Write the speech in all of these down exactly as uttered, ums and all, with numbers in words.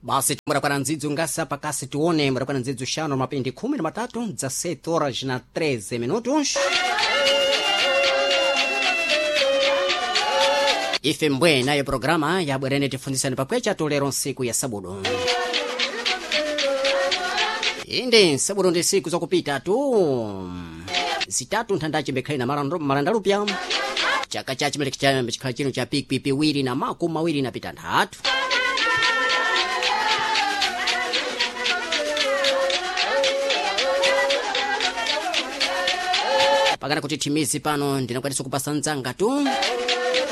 Basi murakwana ndzidzo ngasa pakasi tione murakwana ndzidzo xano mapindi khumi na matatu dezessete horas na treze minutos. Ife mbwe nayo programa yabwerene tifundisani pakwecha tulero nsiku ya sabudu. Inde sabudu ndi siku zakupita tu zitatu nthandaci mbekhale na malandalupya chaka cha chimeleki cha chikhala chino cha pikwi piwiri na makumi mawiri na pitanthatu. Pakana kuti thimizi pano ndinakwanisa kupasa mdzanga tu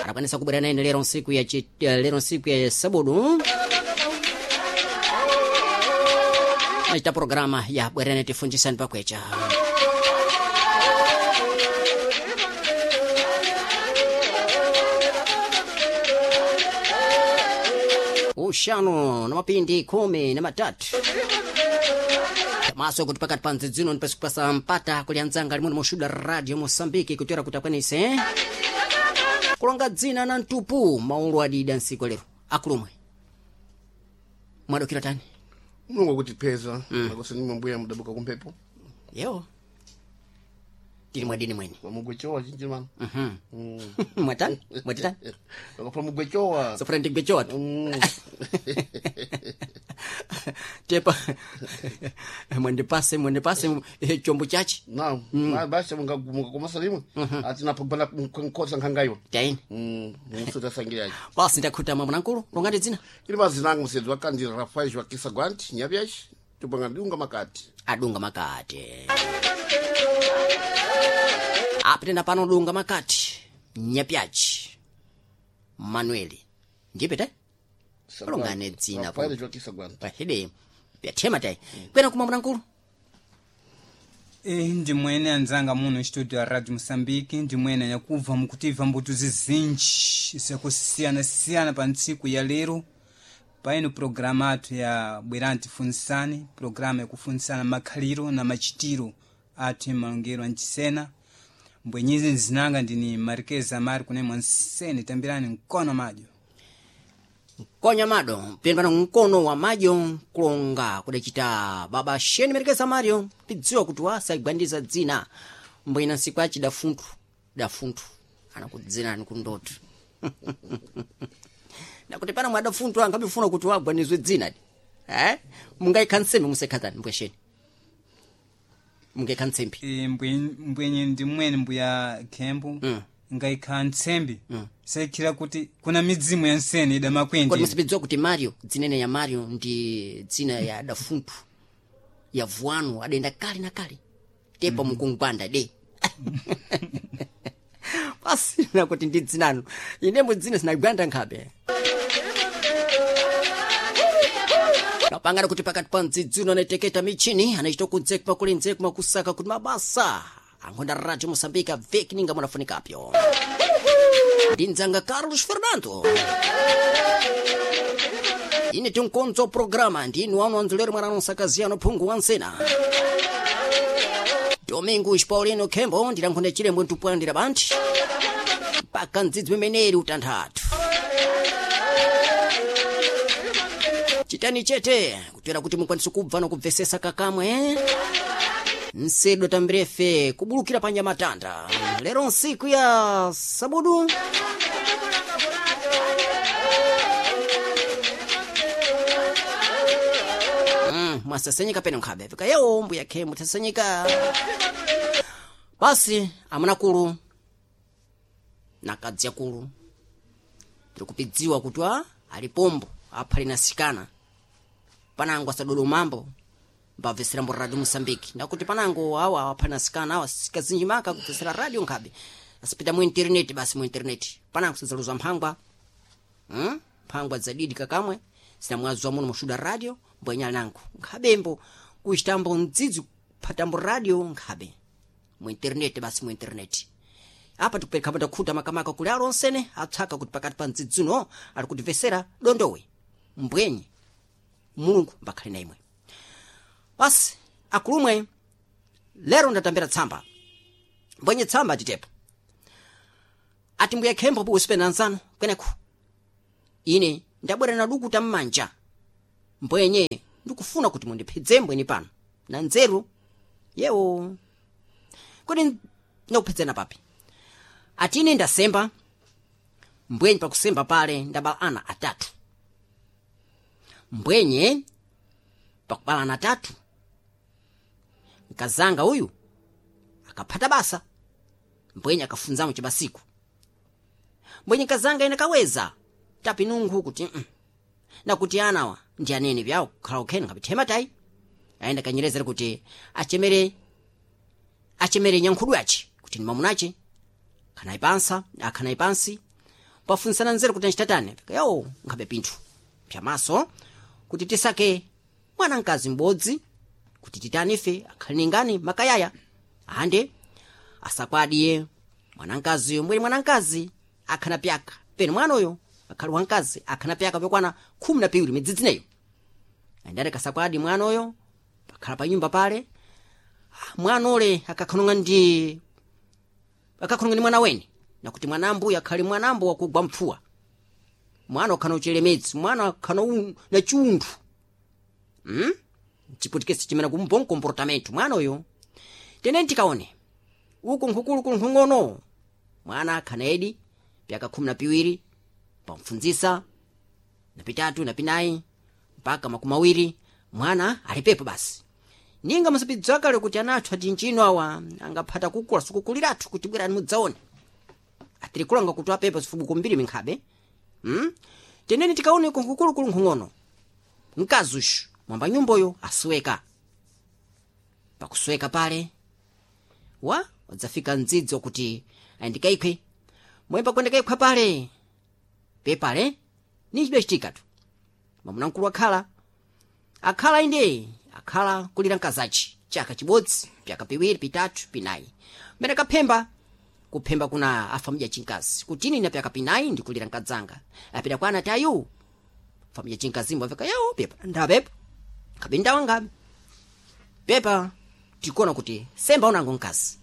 adakwanisa kubwera naine lero nsiku ya chi, lero nsiku ya sabudu nachita programa ya bwerene tifundisani pakwecha. Uxanu na mapindi khumi na matatu maso kuti pakati pa ndzidzino ndipasi kupasa mpata kuli anzanga limwe moxuda radio Moçambique kutera kuti akwanise kulonga dzina na mtupu maulu adida nsiku lero akulumwe mwadokera tani Mulungu akutipeza mm. Makosa nimwe mbuya mudabuka kumphepo yewo tili mwadini mwene mugwechowa chinji mano Mhm. mwatani mwatitani akapha mugwechowa sofuna ndigwechowa tu Mm. tepa mwendipase mwendipase eh, chombo chachi na basi mungakomasa limwe atinapogwana nkhosa nkhangayiwa taini musutasangilaci basi ndakhuta mwamuna-nkulu longati dzina ili mazinanga msedzi wa kandira Rafael Joaquim Saguante nyapyaci tipanga dunga makati adunga makati apitenda pano dunga makati nyapyaci manueli ndipite Longane dzina po. Rafael Joaquim Saguante pahede pyathema tayi kwena kuma mwamuna-nkulu Eh, ndimwene anzanga muno studio ya radio Moçambique ndimwene anyakubva mukutiva mbuto zizinji zakusiyana-siyana pa ntsiku ya lero paino programa athu ya bwerani tifunsane programa yakufunsana makhaliro na machitiro athu emalongero ancisena mbwenyizi nzinanga ndini Marquez Amari kunemwa nsene tambirani mkono madyo konya mado pino pano mkono wa madyo kulonga kudacita baba sheni merekeza mario pidziwa kuti wasaigwandiza dzina mbwina nsiku aci dafunthu dafunthu anakudzina nikundoto nakuti pana mwadafunthu angabifuna kuti wagwanizwe dzina di eh mungaikha nsembe musekhatani mbwesheni mungaikha ntsembe e, mbwe- mbwenye ndimwene mbuya khembo Mm. ngaikha ntsembe mm. saikhira kuti kuna midzimu ya nsene kodi idamakwendera musipidziwa kuti mario dzinene ya mario ndi dzina ya dafunthu ya vuanu adenda kale na kale tepa mukungwanda de pasina kuti ndi dzinano inembo dzina sinagwanda nkhabe napangana kuti pakati pa mdzidzino anayiteketa michini anachita kunzekuma kuli nzekuma kusaka kuti mabasa ankhonda radio Moçambique aveki ninga munafunikapyo ndi mdzanga Carlos Fernando ine tinkonzo programa ndinu anu anzolero mwana anosakaziyano phungu wansena Domingos Paulino Khembo ndilankhonda chilembwe ntupwandira banthu mpaka mdzidzi umeneri utanthatu chitani chete kutera kuti mukwanise kubva nokubvesesa kakamwe nsedo tambirefe kubulukira pa nyamatanda lero nsiku ya sabudu Mm, mwasasenyeka pene nkhabe fika yewo mbuya khe muthasenyeka basi amunakulu nakadzi akulu tikupidziwa kuti a alipombo aphali nasikana panango asadolomambo mbabvesera mbo radio Moçambique ndakuti panango awa aphali nasikana awa sikazinjimaka kubvesera radio nkhabe asipita mu internet basi mu internet panango sadzaluza mphangwa hmm? mphangwa dzadidi kakamwe sinamwazwa muno mushuda radio mbwenya nango nkhabembo kuchitambo mdzidzi kuphatambo radio nkhabe mu internet basi mu internet apa tikupereka ndakhuta makamaka kuli alonsene atsaka kuti pakati pa mdzidzino ali kutivesera dondowe mbwenye mulungu mbakhale na imwe basi akulumwe lero ndatambira tsamba mbwenye tsamba titepo ati mbuya khembo puusipena nzanu kweneku ine ndabwera na dukuta mmanja Mbwenye ndikufuna kuti mundiphedze mbweni pano na nzeru yewo. Kodi ndakuphedzana papi? Atine ndasemba mbwenye pakusemba pale ndabala ana atatu. Mbwenye pakubala ana atatu nkazanga uyu akaphata basa mbwenye akafunzamo chibasiku. Mbwenye nkazanga ine kaweza tapinungu kuti mm, nakuti anawa ndi anene vyawo kukhala ukheni ngapithema tayi. Ayenda kanyerezera kuti achemere achemere nyankhudu yace kuti ni mamunace akhanayi pansa akhanayi pansi pafunsana nzeru kuti ancitatane yawo nkhabe pinthu pyamaso kuti tisake mwana mkazi m'bodzi kuti titani ife akhale ningani makayaya ande asakwadiye mwanamkaziyo. Mbwene mwanamkazi akhana pyaka pene mwana uyo akhali wamkazi akhana pyaka pyokwana khumi na piwiri midzidzineyo. Andati kasakwadi mwana uyo pakhala pa nyumba pale mwana ule akakhanonga ndi akakhanonga ndi mwana weni nakuti mwanambuyo akhali mwanambo wakugwa mpfuwa mwana ukhana uchelemedzi mwana akhana na chiunthu hmm? Chiputikesi chimene kumbo comportamento mwana uyo. Tene tikaone uku nkhukulu nkhung'ono mwana akhana edi pyaka khumi na piwiri pamfunzisa na pitatu na pinayi mpaka makumi awiri mwana alipepo basi. Ninga musapidzwa kale kuti anathu ati ntchino awa angaphata kukula sikukuliratu kuti bwerani mudzaone atirikulanga kuti apepa zifubuko mbiri minkhabe hmm? Teneni tikaone uku nkhukulu nkhung'ono mkazi ushu mwamba nyumboyo asweka. Pakusweka pale wa wadzafika mdzidzi wakuti ayindikaikhwe mwemba kwendekaikhwa pale pepale nichidachitikatu mwamuna mkulu akhala akhala inde akhala kulira mkazachi chaka chibodzi pyaka piwiri pitatu pinayi mmene kaphemba kuphemba kuna afamidya chinkazi kuti ine pyaka pinayi ndikulira mkadzanga apita kwa anatayu famidya chinkazimbo afika yawo pepa ndapepa kabe ndawanga pepa tikuona kuti semba unango mkazi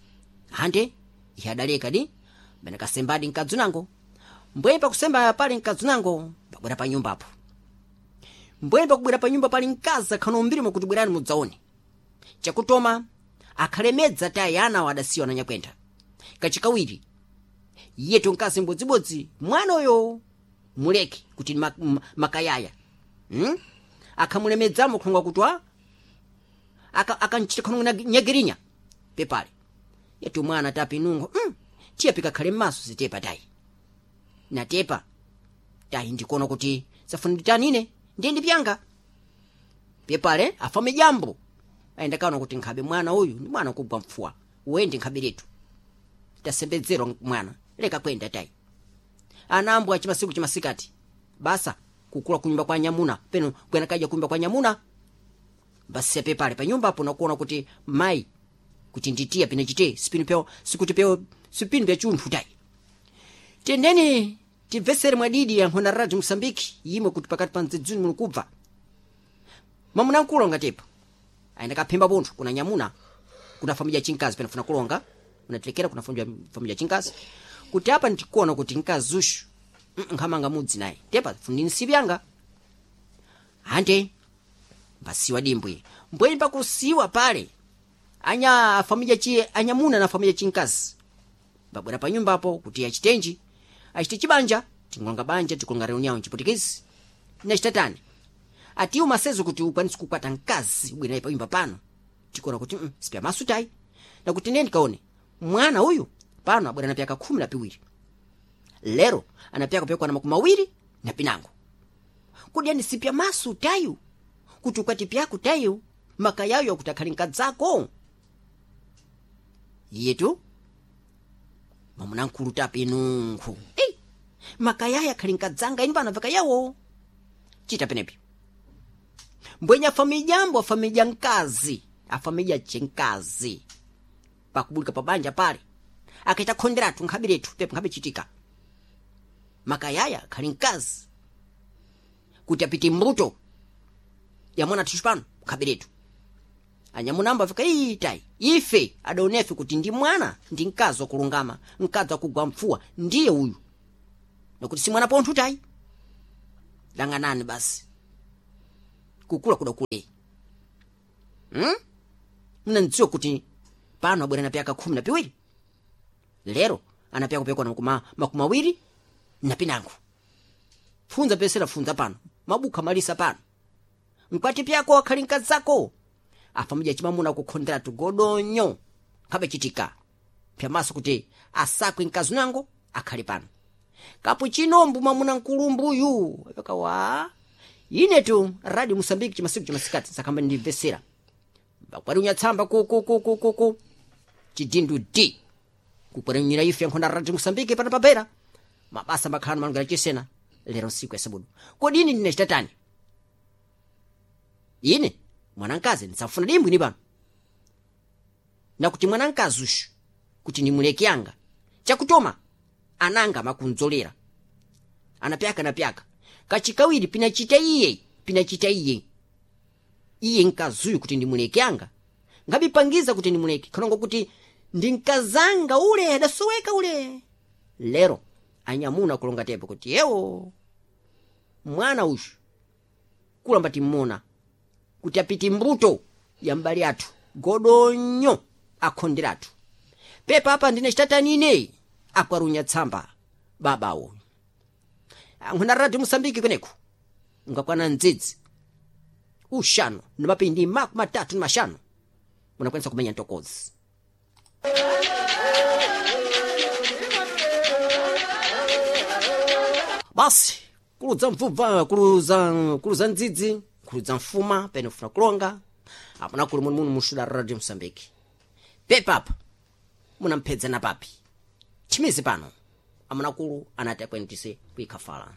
ande iye adaleka di mmene kasembadi mkadzi unango. Mbweni pakusemba pali mkadzi unango pakubwera pa nyumbapo. Mbweni pakubwera pa nyumba pali mkazi akhano mbiri kuti bwerani mudzaone chakutoma akhalemedza tayi ana adasiwa na nyakwenda. Kachikawiri yetu mkazi mbodzibodzi mwana uyo muleke kuti makayaya hmm? Akhamulemedzamo khonga kutwa akanchita khonga nyagirinya pepale yetu mwana tapinungo mm, tiye pikakhale m'maso zitepa tayi natepa tayi ndikuona kuti safunditanine ndiye ndipyanga pepale afame jambo ayenda kaona kuti nkhabe mwana uyu ndi mwana kugwa mfuwa uwende nkhabe letu tasembedzerwa mwana leka kwenda tayi. Anambwa chimasiku chimasikati basa kukula kunyumba kwa nyamuna peno kwena kaja kunyumba kwa nyamuna basi pepale pa nyumba apo nakuona kuti mai kuti nditiya pine chite sipinu peo sikuti peo sipinu pya chunthu tayi. Tendeni tibvesere mwadidi ya nkhona Radio Mosambiki yimwe kuti pakati pa mdzidzuni muno kubva mamuna nkulonga tepa ayenda kaphemba pontho kuna nyamuna kuna familia chinkazi penafuna kulonga unatilekera kuna familia chinkazi kuti apa ndikuona kuti mkazi ushu nkhamanga mudzi naye tepa fundini sipyanga ande mbasiwa dimbwe. Mbweni pakusiwa pale anya afamilia chi anyamuna na familia chinkazi babwera pa nyumbapo kuti achitenji achite chibanja tingolonga banja tikulonga reunião chiputikisi nachitatani atiwo masezo kuti ukwanise kukwata mkazi ubwera naye pa nyumba pano tikuona kuti mm, sipya masu tayi nakuti ndiye ndikaone mwana uyu pano abwera na pyaka khumi na piwiri lero ana pyaka pyakwana makumi awiri na pinango kodi ani sipya masu tayu kuti ukwati pyako tayu makayayo akuti akhali mkadzako yetu mwamuna mkulu tapinunkhu ei makayaya akhali mkadzanga inu pano vakayawo chita penepi mbwenye afamijambo afamija mkazi afamija chenkazi pakubulika pabanja pale akaita khonderatu nkhabiretu pepo nkhabichitika makayaya akhali mkazi kuti apite mbuto ya mwana thishu pano nkhabiretu anyamunamba afika iitayi ife adaonefe kuti ndi mwana ndi mkazi wakulungama mkazi wakugwa mfuwa ndiye uyu nakuti si mwana ponthu tayi lang'anani basi Kukula kudakule. Hmm? Mnandziwa kuti pano abwera na pyaka khumi na piwiri. Lero anapyaka kupekwa na makumi makumi awiri na pinango. Funza pesera funza pano. Mabuka malisa pano. Mkwati pyako akhali mkazako. Afa mja chimamuna kukhondera tugodonyo. Kabe chitika. Pyamaso kuti asakwe mkazi nango akhali pano. Kapu chinombu mwamuna nkulumbuyu. Apeka wa. Ine tu Radio Mosambiki chimasiku chimasikati sakamba ndimvesera. Bakwari unyatsamba ku ku ku ku ku ku. Chidindu D. Kukwari ife nkhonda Radio Mosambiki pana papera. Mabasa makhala malungana chisena lero siku ya sabudu. Kodi ine ndine chitatani? Ine mwanankazi ndisafuna dimbwi ni pano. Nakuti mwanankazi ushu kuti nimuleke yanga. Chakutoma ananga makunzolera. Anapyaka napyaka. Kachikawiri pinachita iye, pinachita iye. Iye nkazuyu kuti ndimuleke yanga. Ngabipangiza kuti ndimuleke. Kanongo kuti ndinkazanga ule adasoweka ule. Lero anyamuna kulonga tepo kuti yewo mwana ushu kulamba timmona kuti apiti mbuto ya mbali athu godonyo akhonderatu pepa apa ndine chitatani ine akwarunya tsamba babawo ankhuna Radio Mosambiki kweneku ngakwana ndzidzi ushanu ni mapindi makumi matatu ni mashanu munakwanisa kumenya ntokozi. Basi kuludza mvubva kuludza kuludza ndzidzi kuludza mfuma pene ufuna kulonga apana kuli munu munu mushuda Radio Mosambiki pepapa munamphedzana papi chimizi pano amunakulu anati akwentise kuikhafala.